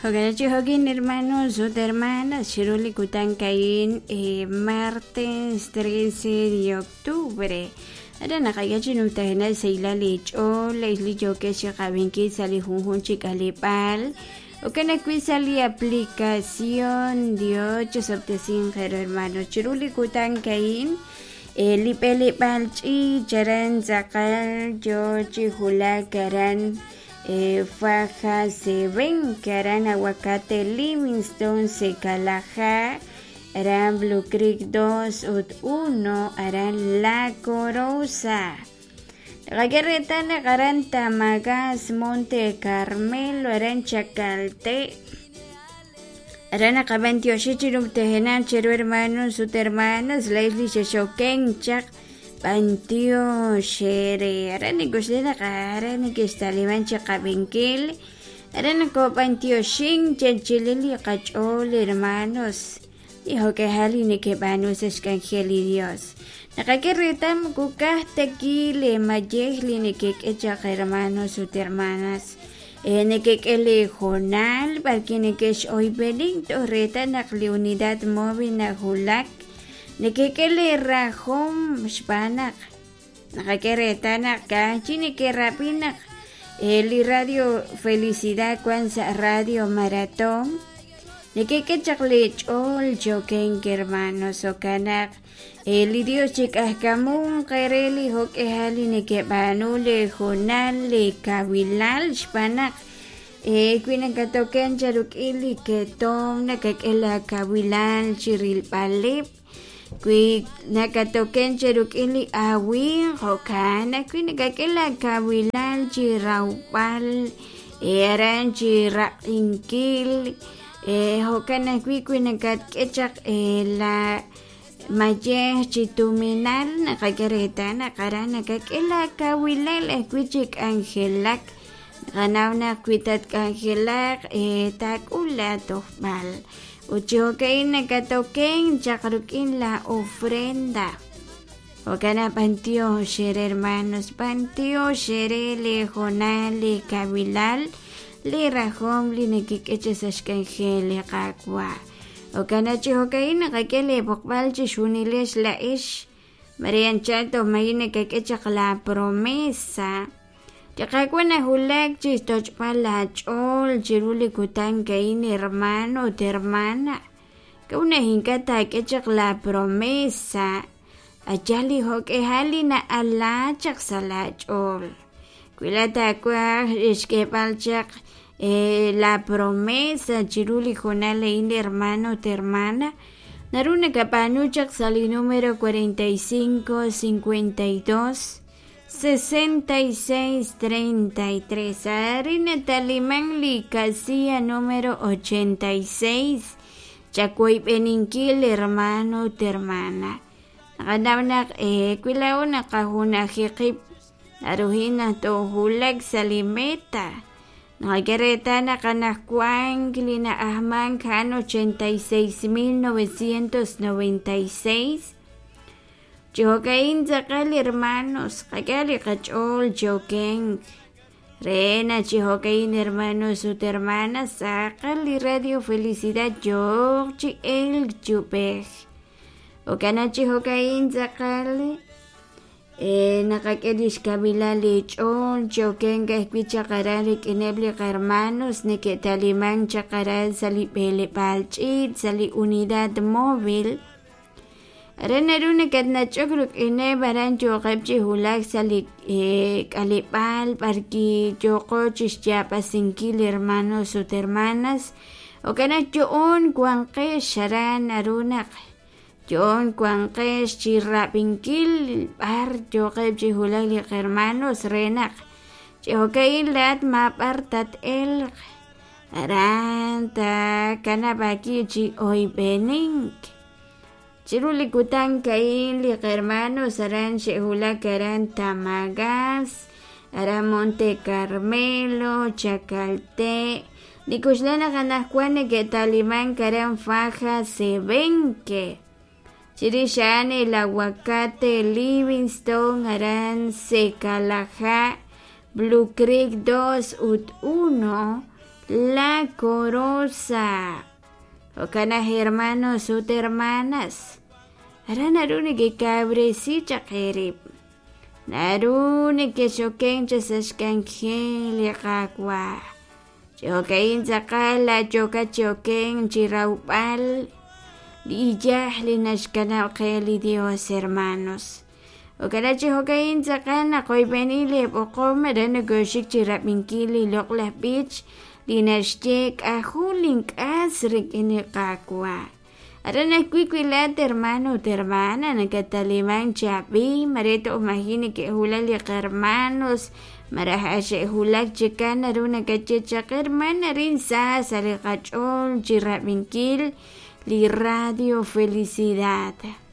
Jo'kan chi jo'kin hermanos ut hermanas chiru li kutan a'in martes 13 de octubre aran naqak'e chi numtajenaq xsahilal li ch'ool li yookex chi qab'inkil sa' li junjunq chi k'aleb'aal jo'kan ajwi' sa' li aplicación Dios chisob'tesinq eere hermanos chiru li kutan a'in li b'eleb'aal ch'iich aran tz'aqal yoo chi wulak aran Faja Seven aran Aguacate Livingston Secalaja aran Blue Creek 2 ut 1 aran La Corosa. Naqak'e reetal naq aran Tamagas Monte Carmelo aran Chacalté aran naqab'antioxi chi numtajenaq cheru hermanos ut hermanas laa'ex li xexokenk chaq b'antiox eere aran nik'oxla naq aran nekextaliman chi qab'inkil aran nokob'antioxink chechilil li qach'ool hermanos li jo'k'ihal li nekeb'aanu sa' xk'anjel li Dios. Naqak'e reetal moko ka'aj ta ki lee mayej li nekek'e chaq hermanos ut hermanas nekek'e lee hoonal b'arwi' nekex'oyb'enink toj reetal naq li unidad móvil nawulak nekek'e lee rajom xb'aan naq naqak'e reetal naq ka'aj chi neke'rab'i naq li radio Felicidad wan sa' radio Maratón nekek'e chaq lee ch'ool chi okenk hermanos jo'kan naq li Dios chik'ajkamunq eere li jo'k'ihal li nekeb'aanu lee hoonal lee kawilal xb'aan naq wi nakatoken charuk'il li ketom nakak'e laa kawilal chi rilb'aleb' wi nakatoken cheruk'in li awimq jo'kan ajwi' nakak'e laa kawilal chi rawb'al aran chi raq'inkil jo'kan ajwi' wi nakatk'e chaq la mayej chi tuminal naqak'e reetal naq aran nakak'e laa kawilal ajwi' chi k'anjelak naqanaw naq wi tatk'anjelaq taak'ul laa tojb'al ut chi jo'ka'in nakatoken chaq rik'in la ofrenda jo'kan naq b'antiox eere hermanos b'antiox eere lee hoonal lee kawilal lee rajom li nekek'e chaq sa' xk'anjel li Qaawa' jo'kan naq chi jo'ka'in naqak'e lee b'oqb'al chixjunilex laa'ex mare anchal toj maji' nakak'e chaq la promesa Li Qaawa' nawulak chi xtoch'b'al laach'ool chiru li kutan a'in hermano ut hermana. K'a'ut naq ink'a' taak'e chaq laapromesa a' yaal li jo'k'ihal li na'ala chaq sa' laach'ool? Wi laa'at taawaj xk'eeb'al chaq laapromesa chiru li hoonal a'in hermano ut hermana, naru nakab'aanu chaq sa' li numero 45 52 66 33 arin nataliman li casilla número 86 chawoyb'eninkil hermano ut hermana naqanaw naq wi laa'o naqajunaji qib' naruhin naq toowulak sa' li meta naqak'e reetal naq anaqwan li na'ajmank a'an 86996 Chi jo'ka'in tz'aqal hermanos, qak'e li qach'ool chi okenk re naq chi jo'ka'in hermanos ut hermanas tz'aqal li Radio Felicidad yooq chi elk chi ub'ej. Jo'kan naq chi jo'ka'in tz'aqal naqak'e lix kawilal li ch'ool chi okenk ajwi' chaq aran rik'ineb' li qahermanos neke'talimank chaq aran sa' li b'eleb'aal ch'iich' sa' li unidad móvil. Aran naru nakatnach'ok rik'ineb' aran yooqeb' chi wulak sa' li k'aleb'aal b'arwi' yooqo chi xyaab'asinkil hermanos ut hermanas jo'kan naq yo'oon wanqex aran naru naq yo'oon wanqex chi rab'inkil b'ar yooqeb' chi wulak li qahermanos re naq chi jo'ka'in laa'at maab'ar tat-elq aran taakanab' aawib' chi oyb'enink. Chiru li kutan a'in li qahermanos aran xe'wulak aran Tamagas, aran Monte Carmelo, Chacalté, nik'oxla naq anaqwan neke'talimank aran Faja Sebenque. Chirix a'an El Aguacate, Livingston, aran Secalajá, Blue Creek 2 ut 1. La Corosa. Jo'kan naq hermanos ut hermanas, aran naru nekekawresi chaq eerib', naru nekexoken chaq sa' xk'anjel li Qaawa'. Chi jo'ka'in tz'aqal laayookat chi okenk chi rawb'al li iyaj li naxkanab' qe li Dios, hermanos. Jo'kan chi jo'ka'in tz'aqal naqoyb'eni li b'oqom aran nokoxik chi rab'inkil li loq'laj b'ich li naxye k'ajo' link'as rik'in li Qaawa'. Aran ajwi' wi laat hermano ut hermana nakatalimank chi ab'i mare toj maji' neke'wulak li qahermanos malaj ak xe'wulak chikan naru nakaye chaq hermana arin sa sa' li qach'ool chi rab'inkil li Radio Felicidad.